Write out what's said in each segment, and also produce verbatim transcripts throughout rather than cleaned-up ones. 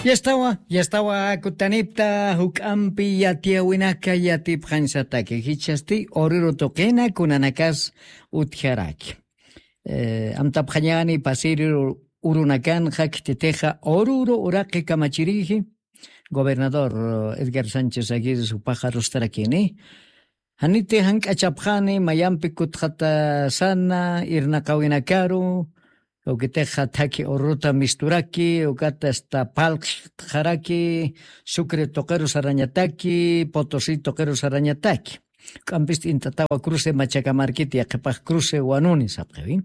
Yastawa, yastawa kutanipta juk'ampi yatiyawinaka yatipxañsataki. Jichhasti Oruro tuqina kunanakas utjaraki. Eh, amtapxañani pasiri urunakanxa khititixa Oruro uraqi kamachiriji. Gobernador, eh, Edgar Sánchez Aguirre jupaxa rustarakini. Janiti jank'achapxani, mayampi kutxatasana, irnaqawinakaru, ukitixa thakhi Oruruta misturaki, ukata hasta phalqxaraki, Sucre tuqiru sarañataki, Potosí tuqiru sarañataki. K'ampis t'int'atawa cruce Machakamarkiti, yaqhipax cruce Wanuni sapxiwi.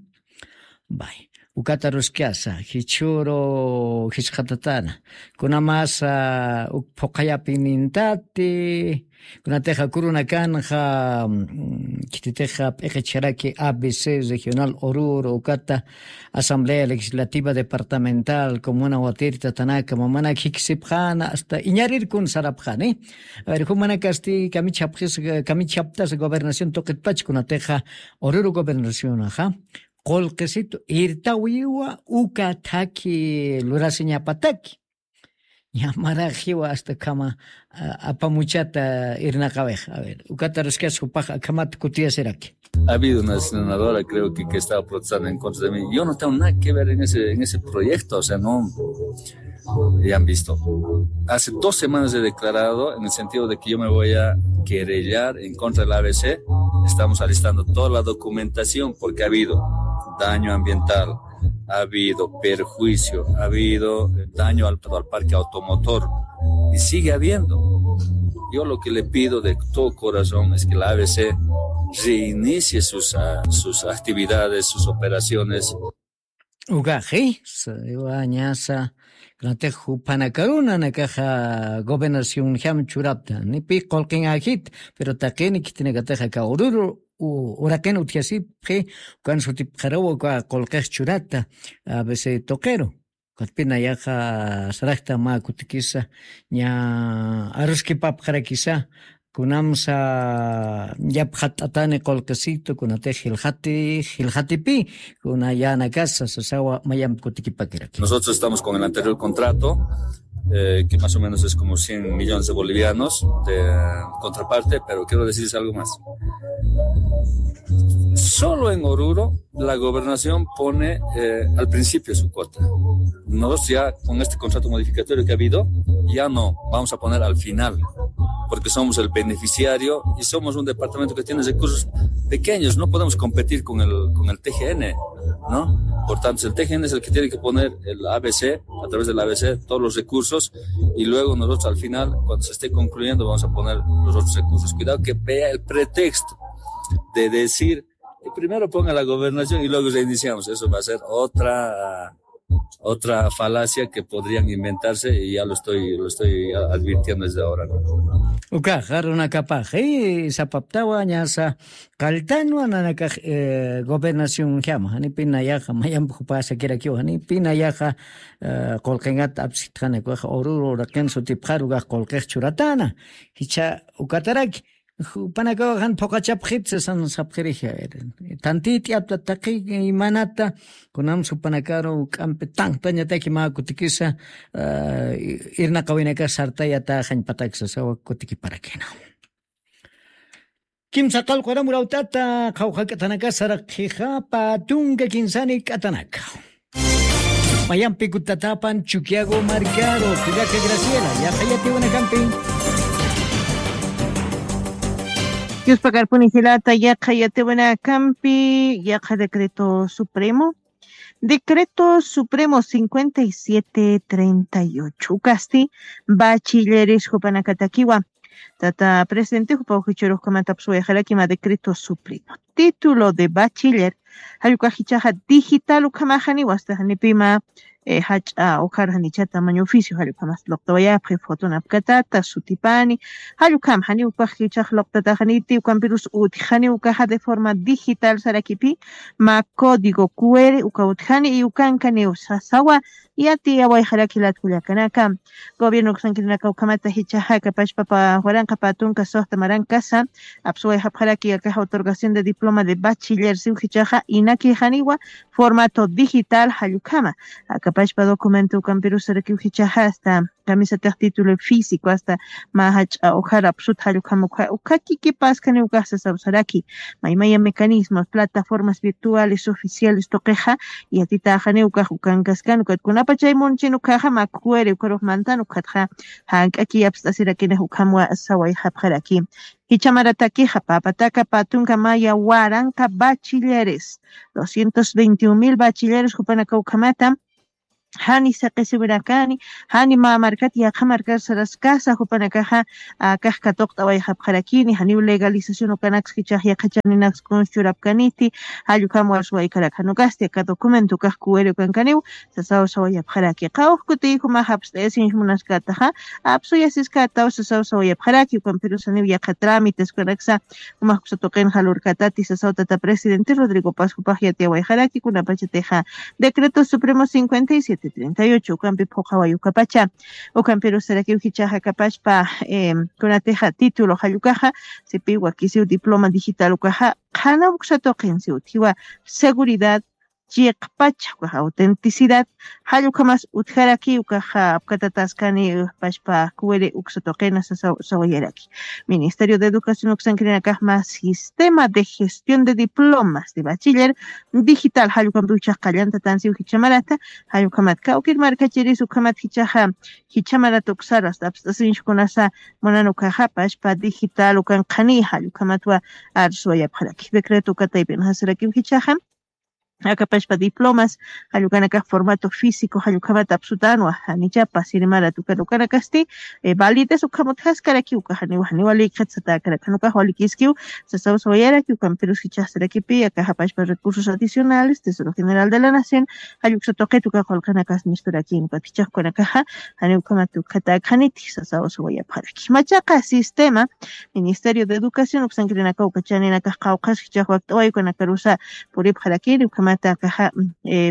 Bay, ukata ruskasa, jichhüru jisqatatana. Kunamasa uk phuqhayapinintati, kunatixa kurunakanxa, mm, khititixa p'iqichharaki A B C Regional Oruro, ukata Asamblea Legislativa Departamental, Comuna Watiri, Tatanaka, Mamana, khiksipxana, hasta iñarirkun sarapxani. A ver, jumanakasti kamichhapxis, kamichhaptas gobernación tuqitpach, kunatixa Oruro gobernacionaxa, qullqisitu irtawiwa uka thakhi lurasiñapataki. Ñamaraxiwa hasta khama, a, apamuchata irnaqawix. A ver, ukata ruskasa jupax akhamat kutiyasiraki. Ha habido una senadora, creo que, que estaba protestando en contra de mí. Yo no tengo nada que ver en ese, en ese proyecto, o sea, no. Ya han visto. Hace dos semanas he declarado en el sentido de que yo me voy a querellar en contra del A B C. Estamos alistando toda la documentación porque ha habido daño ambiental, ha habido perjuicio, ha habido daño al, al parque automotor y sigue habiendo. Yo lo que le pido de todo corazón es que la A B C reinicie sus, ah, sus actividades, sus operaciones. Ukaxi, sa, iwañasa, kunatix jupanakaruna nakaxa gobernación jam churapta, ni pi qullqin ajit, pero taqini khitinakatixa aka Oruro, u-, uraqin utjasipxi, ukan sutipxarawa uka qullqix churata, A B C tuqiru. Ukatpina yaqa saraqta mä kutikisa, ña aruskipapxarakisa, kunamsa yapxat'atani qullqisitu, kunatix jilxati, jilxatipi, kuna yänakasa, sasawa mayamp kutikipakiraki. Nosotros estamos con el anterior contrato, eh, que más o menos es como cien millones de bolivianos de contraparte, pero quiero decirles algo más. Solo en Oruro, la gobernación pone, eh, al principio su cuota. Nosotros ya con este contrato modificatorio que ha habido, ya no, vamos a poner al final, porque somos el beneficiario y somos un departamento que tiene recursos pequeños, no podemos competir con el, con el T G N, ¿no? Por tanto, el T G N es el que tiene que poner el A B C, a través del A B C, todos los recursos y luego nosotros al final, cuando se esté concluyendo, vamos a poner los otros recursos. Cuidado que vea el pretexto de decir que primero ponga la gobernación y luego reiniciamos. Eso va a ser otra, otra falacia que podrían inventarse y ya lo estoy, lo estoy advirtiendo desde ahora, ¿no? Ukaxa runakapax, eh, sapaptawa ñasa, qalltanwa nanakax, eh, gobernación jama, janipi nayaxa, mayamp jupasakirakiwa, janipi nayaxa, eh, qullqingat apsitxani, ukax Oruro uraqin sutipxaru ukax qullqix churatana. Jichha ukataraki, jupanakawa jan phuqachapxit sasan sapxirixi, a ver. Tantit'i apta taqi imanata, kunam jupanakaru k'ampi tanqtañataki mä kutikisa, ah, irnaqawinaka sartayata jañpatak sasawa kutikiparakina. Kimsa qallqu aram urawt'ata, qhawqha k'atanaka saraqxixa, pä tunka kinsani k'atanaka. Mayampi kutatapan Chukiyawu markaru, qillaka Graciela, yaqha yatiwanakampi. Yuspakarpuni jilata, yaqha yatiwanakampi, yaqha decreto supremo. Decreto supremo cincuenta y siete treinta y ocho. Ukasti, bachilleres jupanakatakiwa. Tata presidente jupaw jichhürux ukhamatapis wayxaraki mä decreto supremo. Título de bachiller, jall ukax jichhaxa digital ukhamaxaniwa, hasta janipima, eh, jach'a ukhar janicha tamaño oficio, jall ukhamas luqtawayapxi, fotonapkatata, sutipani, jall ukham, janiw ukax jichhax luqtataxaniti, ukampirus utjxani ukaxa de forma digital sarakipi, mä código Q R uka utjani, y ukankaniw sasawa, yatiyawayxaraki jilat kullakanaka. Gobierno uksankirinaka ukhamata jichhaxa akapachpa waranqa pä tunka suxta marankasa apsuwayxapxaraki akaxa otorgación de diploma de bachiller siw jichhaxa inakïxaniwa formato digital jall ukhama. Akapachpa documento ukampirusarakiw jichhaxa hasta kamisatix título físico hasta mä jach'a ujar apsut jall ukhama ukha ukha kikipaskani ukax sasawsaraki. Maymaya mecanismos plataformas virtuales oficiales tuqixa yatitäxani ukax ukankaskan ukat kunapachay munchin ukhaxa makuwiri ukarux mantan ukhatxa jank'aki apst'asirakinax ukhamwa sawayxapxaraki. Jichhamaratakixa pä pataka pä tunka maya waranqa bachilleres doscientos veintiun mil bachilleres jupanaka ukhamata jani saqisiwirakani jani mä markat yaqha markar saraskasa jupanakaxa akax katuqt'awayxapxarakini janiw legalización ukanaksa jichhax yaqha chaninaksa kunsa churapkaniti. Jall ukham warsuwaykarak jan ukasti aka documento ukax kuwiri ukankaniw sasaw sawayapxaraki qawj kutiy jumax apst'ayasinch munaskätaxa apsuyasiskätaw sasaw sawayapxaraki ukampirusaniw yaqha trámites ukanaksa jumax uksa tuqin jalurkätati sasaw tata presidente Rodrigo Paz jupax yatiyawayxaraki kunapachatixa decreto supremo cincuenta y siete treinta y ocho ukampi phuqhaway ukapacha. Ukampirusarakiw jichhaxa akapachpa kunatixa título jall ukaxa sipiw wakisiw diploma digital ukaxa qhanaw uksa tuqin siw utjiwa seguridad chiqpacha ukax autenticidad jall ukhamas utjaraki ukaxa apkatataskani pachpa kuwiri uksa tuqina sawayaraki. Ministerio de educación uksankirinakax mä sistema de gestión de diplomas de bachiller digital jall ukhampi jichhax qallantatan siw jichhamarata jall ukhamat kawkir markachiris ukhamat jichhaxa jichhamarata uksar asta apst'asinch kunasa munan ukaxa pachpa digital ukan qhani jall ukhamatwa arsuwayapxaraki decreto uka taypinxasarakiw jichhaxa akapachpa diplomas jall ukanakax formato físico jall ukhamat apsutanwa janichapa sirimarat ukan ukanakasti validez ukham utjaskarakiw ukax janiw janiw walikxit satäkarak jan ukax walikiskiw sasaw sawayarakiw ukampirus jichhaxsarakipi akaxa pachpa recursos adicionales tesoro general de la nación jall uksa tuqit uka qullqinakas misturakïn ukat jichhax ukanakaxa janiw ukhamat ukhatäkxaniti sasaw sawayapxaraki machaqa sistema ministerio de educación uksankirinakaw uka chaninakax qawqhas jichhax wakt'away ukanakarusa puripxarakini ukhamata akaxa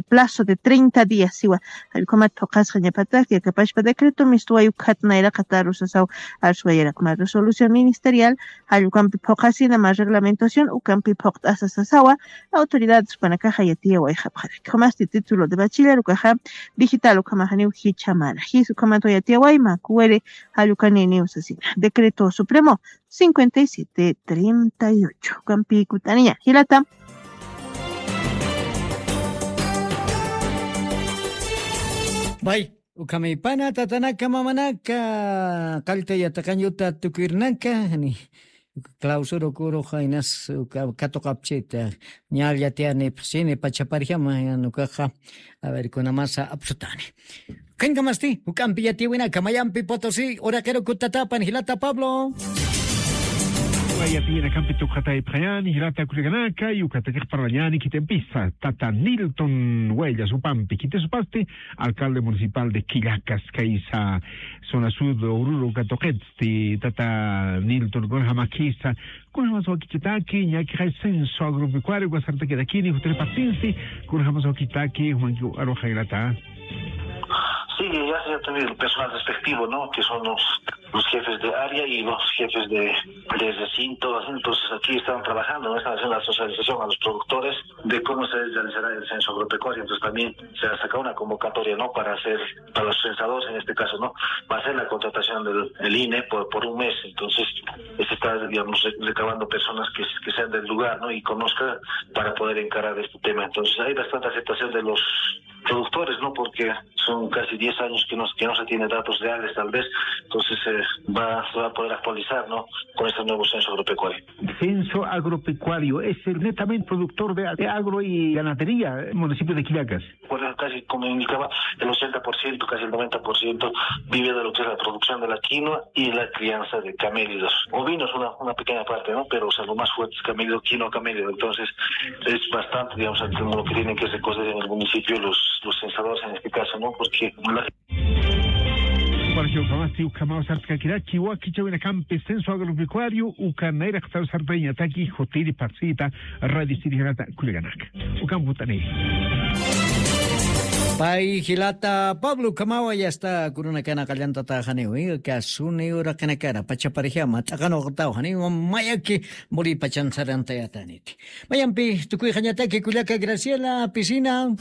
plazo de treinta días siwa jall ukhamat phuqhasxañapataki akapachpa decreto mistuway ukhat nayraqataru sasaw arsuwayarak mä resolución ministerial jall ukampi phuqhasina mä reglamentación ukampi phuqt'asa sasawa autoridades ukanakaxa yatiyawayxapxaraki jumasti título de bachiller ukaxa digital ukhamaxaniw jichhamana jis ukhamatwa yatiyaway mä kuwiri jall ukaniniw sasina decreto supremo cincuenta y siete treinta y ocho ukampi kut'aniña jilata. Bay ukhamipana tatanaka mamanaka qallta yataqañuta tukirnaka ni clausura kurux aynas katuqapchita ñallatiani pxsini pachaparjama nukaxa. A ver kunamasa apsutani. Khaynkamasti juk'ampi yatiwinaka mayampi potosí uraqiru kutatapan jilata pablo. Wayapiyinakampi tukxataypxañani jilata kullakanaka y ukatakix parlañani khitimpisa tata nilton wayllasupampi khitisupasti alcalde municipal de quillacas kaysa zona sud ururu katuqitsti tata nilton kunajamakhisa kunajamasa wakichitaki ñakixay censo agropecuario wasartakirakini jutiripatinsi kunajamasa wakichitaki jumanki aruxaylata. Sí, ya se ha tenido el personal respectivo, ¿no? Que son los, los jefes de área y los jefes de, de recinto. Entonces aquí están trabajando, ¿no? Están haciendo la socialización a los productores de cómo se realizará el censo agropecuario. Entonces también se ha sacado una convocatoria, ¿no? Para hacer, para los censadores en este caso, ¿no? Va a ser la contratación del, del I N E por, por un mes. Entonces, se está, digamos, recabando personas que, que sean del lugar, ¿no? Y conozca para poder encarar este tema. Entonces, hay bastante aceptación de los productores, ¿no? Porque son casi diez años que no, que no se tiene datos reales, tal vez. Entonces, eh, va, se va a poder actualizar, ¿no? Con este nuevo censo agropecuario. Censo agropecuario es el netamente productor de, de agro y ganadería, eh, municipio de Quillacas. Por eso casi, como indicaba, el ochenta por ciento, casi el noventa por ciento vive de lo que es la producción de la quinoa y la crianza de camélidos. Ovinos, una, una pequeña parte, ¿no? Pero, o sea, lo más fuerte es camélido, quinoa, camélido. Entonces, es bastante, digamos, lo que tienen que recoger en el municipio los, los censadores en este caso, ¿no? Porque la Parque ukhamasti ukhamaw sartkakiraki wakichawinakampi censo agropecuario uka nayraqtaw sartañataki jutiri parsita radisirijanata kullakanaka. Ukam jutani. Pay jilata Pablo Kamawa yasta kurunakana qallantataxaniwi kasuni uraqinakara pachaparjama t'aqanuqtaw janiwa mayaki muri pachansarantayataniti. Mayampi tukuyxañataki kullaka Graciela Pisina.